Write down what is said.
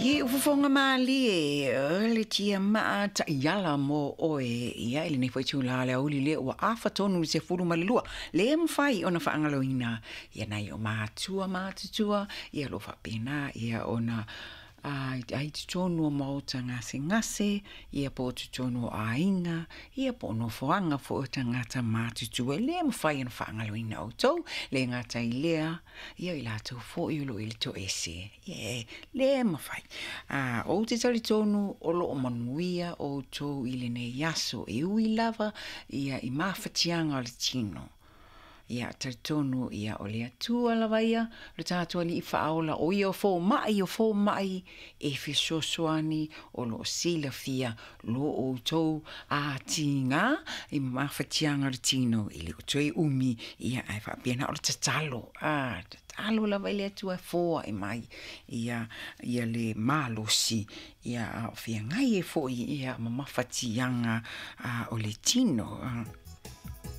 Ie ua fofoga malie o le tiamaa taiala mo oe ia i lenei foi itulā o le aoauli lea ua afa tonu i le 12. Le mafai ona faagaloina ia nai o matua matutua ia o lo o faapena ia ona ai totonu o maota gasegase, ia po o totonu o aiga, ia po o nofoaga foi o tagata matutua. E le mafai ona faagaloina outou, le gata i lea, ia o i latou foi o lo o i le toese, ia e le mafai. Ou te talitonu o lo o manuia outou i lenei aso, e ui lava ia i mafatiaga o le tino. Ia talitonu ia o le Atua lava ia, lo tatou Alii Faaola, o ia o fomai o fomai e fesoasoani o lo o silafia lo outou atiga i mafatiaga o le tino, e le o toe umi, ia ae faapena o le tatalo, tatalo lava i le Atua e foai mai ia, ia le malosi, ia a o feagai ai foi ia ma mafatiaga o le tino.